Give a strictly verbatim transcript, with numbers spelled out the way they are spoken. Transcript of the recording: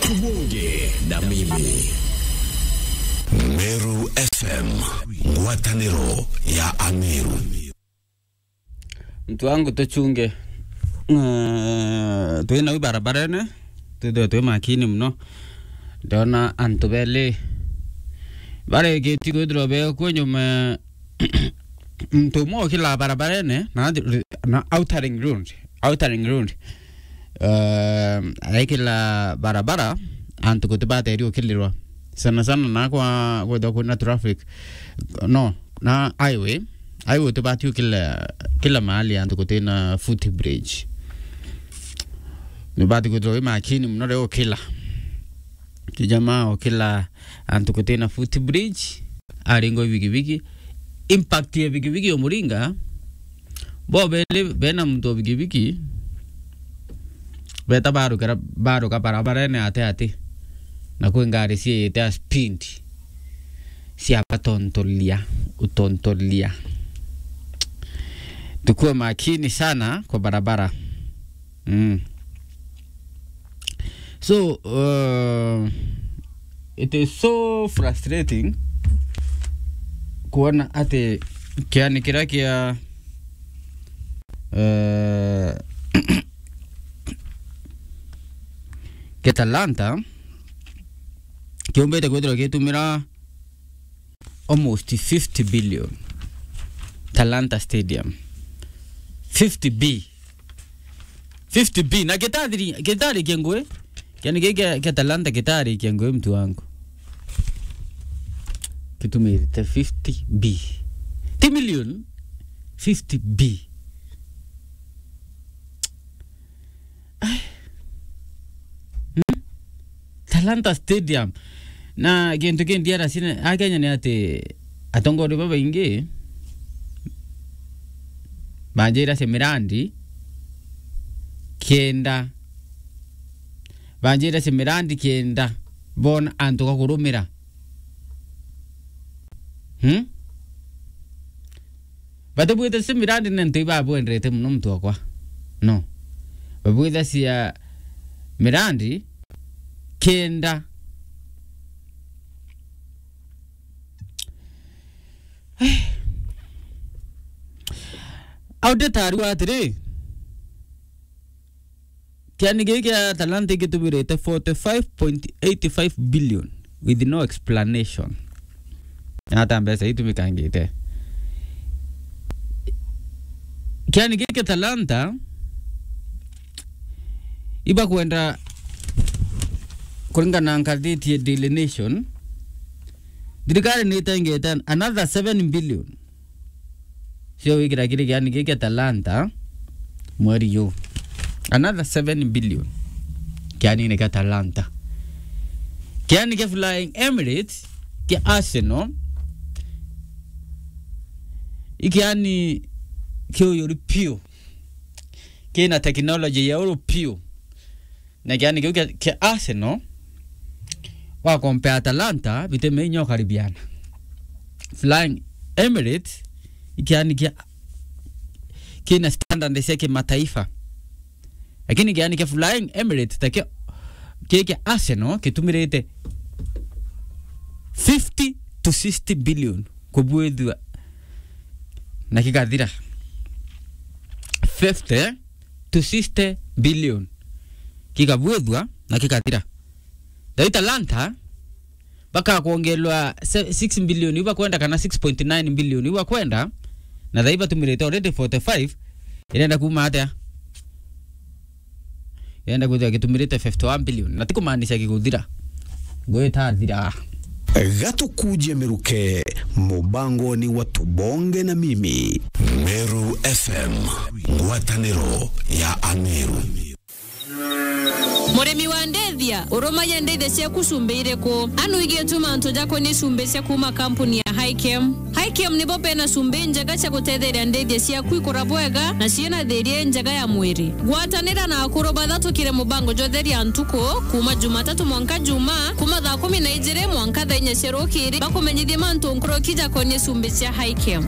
Tubonge na mimi. Meru F M, ngwataniro ya Ameru. Mtu wangu, tuchunge. Eh, twina u barabarene, twithwe twi makini muno. Ndona antu beli barikiti kwithirwa bekwo nyuma. Muntu umwe ukila barabarene na, na outer ring road, outer ring road. Eh, araikila barabara, antu gutibateri ukilirwa. Sana sana na kwa, kwithwa kwina traffic. No, na highway, highway utibati ukila, kila mahali antu gutina footbridge. Nibati kwithirwa wi makini muno riria ukila. Kijamaa ukila antu gutina footbridge, aringa bigibigi. Impact ya bigibigi umuringa, bo beli bena muntu wa bigibigi, beta barukira, baruka barabarene ati ati. Na kwi ngari ciite a speed, ciabatontoria, utontoria. Tukue makini sana kwa barabara. Mm. So, uh, it is so frustrating kuona ati kiani kiria kia, uh, kia Talanta kiumbite kwithirwa gitumira almost fifty billion. Talanta Stadium. Fifty B. Fifty B. Na gitathiri-, gitarikia ngui. Kiani giki kia, kia Talanta gitarikia ngui, mtu wangu. Kitumirite fifty B. Ti million. Fifty B. Ai. Hmm? Talanta Stadium. Na kintu kindi ara sine, a Kenya ni ati atongoria babaingi banjira cia mirandi kenda. Banjira cia mirandi kenda bona antu ga kurumira. Hmm? Batibwithacia mirandi ni antu ibabwendete muno, muntu wakwa. No. Babwithacia mirandi kenda. Audit arua atiri, kiani giki kia Talanta igitumirite forty-five point eight five billion with no explanation. Ata mbeca itumikangite. Kiani giki kia Talanta ibakwenda, kuringana na ngathiti ya Daily Nation, thirikari ni itengete another seven billion cio wikira kiri kiani giki kia Talanta mweri yu. Another seven billion kiani ni kia Talanta. Kiani kia Flying Emirates kia Arsenal, ikiani kiuyuri piu, kina technology ya uru piu. Na kiani kiu kia, kia Arsenal, wa compare Atalanta, biteme inya ukaribiana. Flying Emirates, ikiani kia, kina standard cia kimataifa. Lakini kiani kia Flying Emirates, ta kia, kia, kia Arsenal, kitumirite fifty to sixty billion kubwithua na kikathira. Fifty to sixty billion kikabuithua na kikathira. Thai Talanta bakakwongelwa se-, six billion iu bakwenda, kana six point nine billion iu bakwenda, na thai batumirite already forty-five, irenda kuma atia? Irenda kwithirwa gitumirite fifty-one billion, na ti kumaanisha giguthira. Ngwita thira. Gatukuje miruke, mubangoni wa Tubonge na Mimi. Meru F M, ngwataniro ya Ameru. Murimi wa ndithia, urumagia ndithia ciaku cumbi iriku? Anu igietuma antu jakonie cumbi cia kuma kampuni ya Hikem. Hikem nibo bena cumbi njega cia gutetheria ndithia ciaku ikura bwega na ciina thiria njega ya mwiri. Gwatanira na akuru bathatukire mubango jwa Theria Ntuku, kuma Jumatatu mwanka Juma, kuma thaa kumi na ijiri mwanka thaa inya cia rukiri, bakumenyithie mantu nkuruki jakonie cumbi cia Hikem.